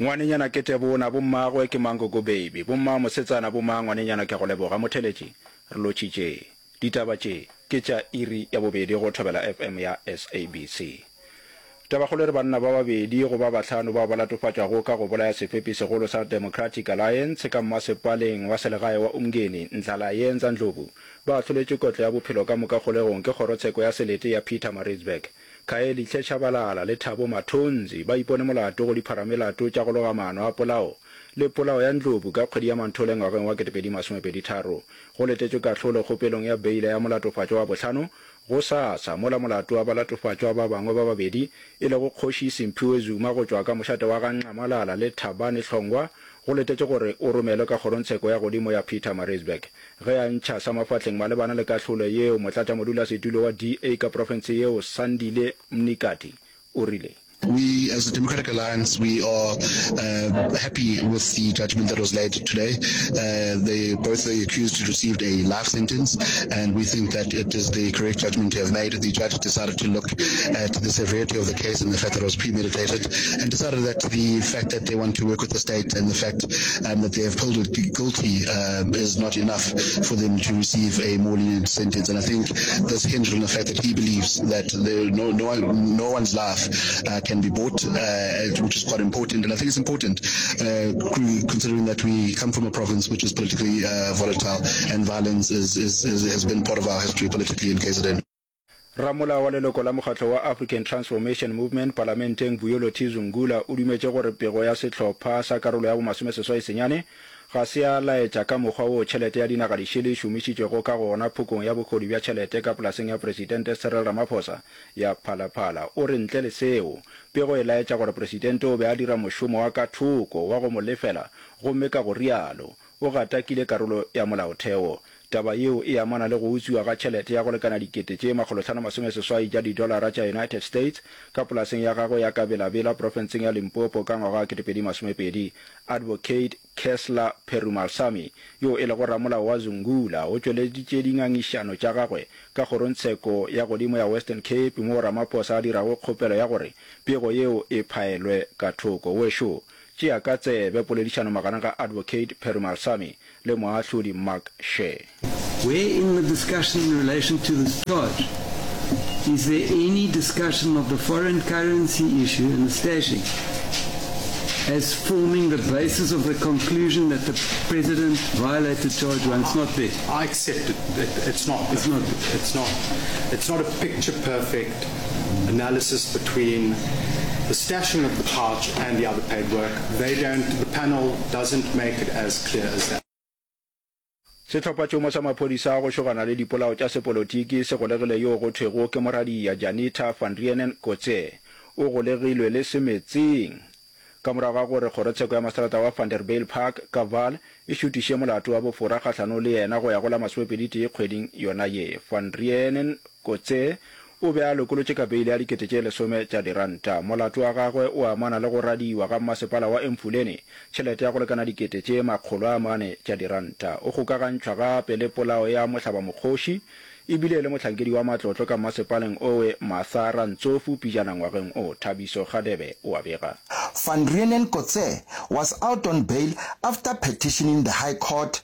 Ngwanenyana ke Tebona, bommagwe ke Mankoko Baby, bomma mosetsana bo mang ngwanenyana ke a go leboga Motheletši, re lotšhitše. Ditaba tše ke tša iri ya bobedi go Thobela FM ya SABC. Tabakgolo e re banna ba babedi go ba bahlano bao ba latofatšwago ka go bolaya sefepi segolo sa Democratic Alliance ka mmasepaleng wa selegae wa Umngeni, Ndlalayenza Ndlovu, ba ahloletšwe kotlo ya bophelo ka moka kgolegong ke kgorotsheko ya selete ya Pietermaritzburg. Khayelihle Tshabalala le Thabo Mathonzi ba ipone molato go dipharamelato tša go loga maano a polao le polao ya Ndlovu ka kgwedi ya Manthole ngwageng wa 2023. Go letetšwe kahlolo kgopelong ya beila ya molatofatšwa wa bohlano gosasa, mola molato wa balatofatšwa ba bangwe ba babedi, e lego Kgoši Simphiwe Zuma go tšwa ka mošate wa ga Nxamalala le Thabani Hlongwa, go letetšwe gore o romelwe ka kgorongtsheko ya godimo ya Pietermaritzburg. Ge a ntšha sa mafahleng malebana le kahlolo yeo, motlatšamodulasetulo wa DA ka profense yeo, Sandile Mnikati, o rile. We as the Democratic Alliance we are happy with the judgment that was laid today. They, both the accused received a life sentence and we think that it is the correct judgment to have made. The judge decided to look at the severity of the case and the fact that it was premeditated and decided that the fact that they want to work with the state and the fact um, that they have pleaded guilty um, is not enough for them to receive a more lenient sentence. And I think this hinged on the fact that he believes that there, no, no, one, no one's life uh, can be bought, uh, which is quite important. And I think it's important uh, considering that we come from a province which is politically uh, volatile and violence is, is, is, has been part of our history politically in KZN. Ramolao wa leloko la mokgatlo wa African Transformation Movement palamenteng Vuyolo T Zungula o dumetše gore pego ya sehlopha sa karolo ya bomasomeseswai senyane ga se ya laetša ka mokgwa woo tšhelete ya dinaga dišele e šomišitšwego ka gona phokong ya bohodu bja tšhelete ka polaseng ya Presidente Cyril Ramaphosa ya Phala Phala. O re ntle le seo, pego e laetša gore Presidente o be a dira mošomo wa ka thoko wa go mo lefela gomme ka go rialo o gatakile karolo ya molaotheo. Taba yeo e amana le go utswiwa ga tšhelete ya go lekana dikete tše makgolotlhanomasomeseswai tša didolara tša United States ka polaseng ya gagwe ya ka Bela-Bela profenseng ya Limpopo ka ngwaga wa 2020. Advocate Kesler Perumalsamy, yo e lego ramolao wa Zungula, o tšweleditše dingangišano tša gagwe ka kgorongtsheko ya godimo ya Western Cape moo Ramaphosa a dirago kgopelo ya gore pego yeo e phaelwe ka thoko. Wešo, Tšea ka tsebe poledišano magareng ga Advocate Perumalsamy le moahlodi Mark Shea. Where in the discussion in relation to this charge is there any discussion of the foreign currency issue and the stashing as forming the basis of the conclusion that the president violated charge one? It's not there. I accept it. it it's not. It's not. It's not. It's not a picture perfect analysis between the stashing of the pouch and the other paid work. They don't, the panel doesn't make it as clear as that. Sehlophatšhomo sa maphodisa a go šogana le dipolao tša sepolotiki se golegile yoo go thwego ke moradia Janita van Reenen Kotze. O golegilwe le semetseng ka morago ga gore kgorotsheko ya maseterata wa Vanderbijlpark ka Vaal e šutiše molato wa bofora kgahlanong le yena go ya go la masomepeditee kgweding yona ye. Van Reenen Kotze o be a lokolotše ka beile ya dikete tše lesome tša diranta. Molato wa gagwe o amana le go radiwa ga mmasepala wa Emfuleni tšhelete ya go lekana dikete tše makgolo a mane tša diranta. O kgokagantšhwa gape le polao ya mohlabamokgoši e bile e le mohlankedi wa matlotlo ka mmasepaleng owe Martha Rantsofu pijana ngwageng o. Thabiso Kgadebe o a bega. Van Reenen Kotze was out on bail after petitioning the High Court.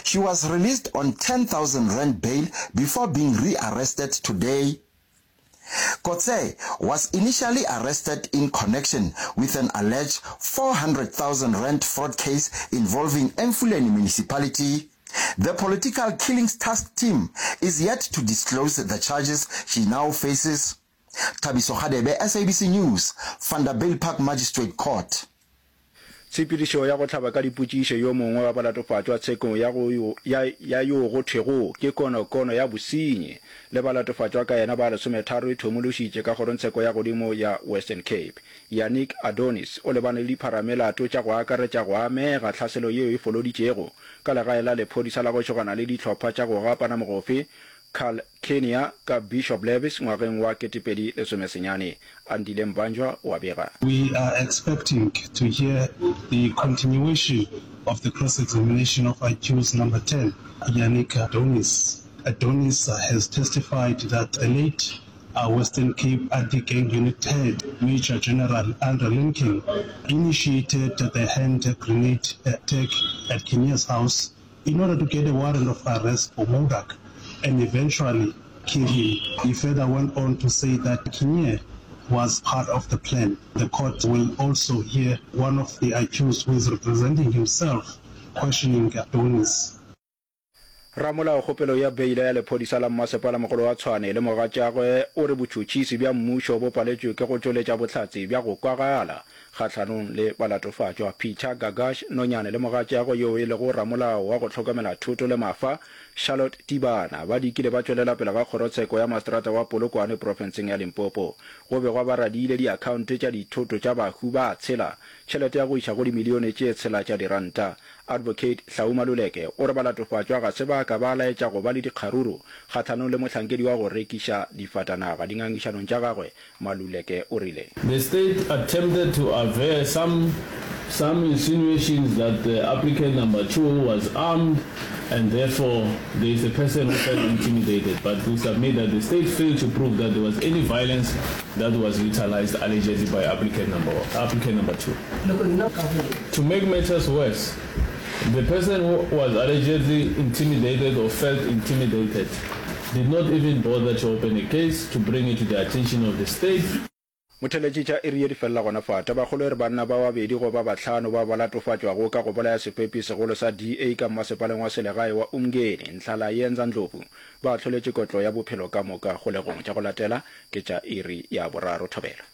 She was released on 10,000 rand bail before being rearrested today. Kotze was initially arrested in connection with an alleged 400,000 rand fraud case involving Emfuleni Municipality. The political killings task team is yet to disclose the charges she now faces. Thabiso Kgadebe, SABC News, Vanderbijlpark Magistrate Court. Tshepedišo ya go hlaba ka dipotšišo yo mongwe wa balatofatšwa tshekong ya go ya ya yo go thwego ke konokono ya bosenyi le balatofatšwa ka yena ba lesometharo e thomološitše ka kgorongtsheko ya godimo ya Western Cape. Yannick Adonis o lebane le dipharamelato tša go akaretša go amega tlhaselo yeo e foloditšego ka legae la lephodisa la go šogana le dihlopha tša go gapana mogofe Carl Kenya ka Bishop Lavis ngwageng wa 2019. Andile Mbanjwa o a bega. We are expecting to hear the continuation of the cross-examination of accused number 10, Yannick Adonis. Adonis has testified that the late. Western Cape Anti-Gang Unit Head, Major General Andre Linking, initiated the hand grenade attack at Kinnear's house in order to get a warrant of arrest for Modak and eventually kill him. He further went on to say that Kinnear was part of the plan. The court will also hear one of the accused who is representing himself questioning Adonis. Ramolao kgopelo ya beila ya lephodisa la mmasepala mogolo wa Tshwane le mogatšagwe o re botšhotšhisi bja mmušo bo paletšwe ke go tšweletša bohlatse bja go kwagala kgahlanong le balatofatšwa. Peter Gagash Nonyane le mogatšagwe yoo e lego ramolao wa go hlokomela thoto le mafa, Charlotte Tibana, ba dikile ba tšwelela pele ga kgorotsheko ya maseterata wa Polokwane profenseng ya Limpopo. Go begwa ba radiile diakhaonte tša dithoto tša bahu ba tshela tšhelete ya go iša go dimilione tše tshela tša diranta. Advocate Hlau Maluleke o re balatofatšwa ga se ba ka ba laetša go ba le dikgaruru kgahlanong le mohlankedi wa go rekiša difatanaga. Dingangišanong tša gagwe, Maluleke o rile. The state attempted to aver some some insinuations that the applicant number 2 was armed and therefore there is a person who felt intimidated but we submit that the state failed to prove that there was any violence that was utilized allegedly by applicant number applicant number 2. To make matters worse, the person who was allegedly intimidated or felt intimidated did not even bother to open a case to bring it to the attention of the state. Motheletši tša iri ye di felela gona fa. Tabakgolo e re banna ba babedi go ba bahlano bao ba latofatšwago ka go bolaya sefepi segolo sa DA ka mmasepaleng wa selegae wa Umngeni, Nhlalayenza Ndlovu, ba ahloletšwe kotlo ya bophelo ka moka kgolegong. Tša go latela ke tša iri ya boraro. Thobela.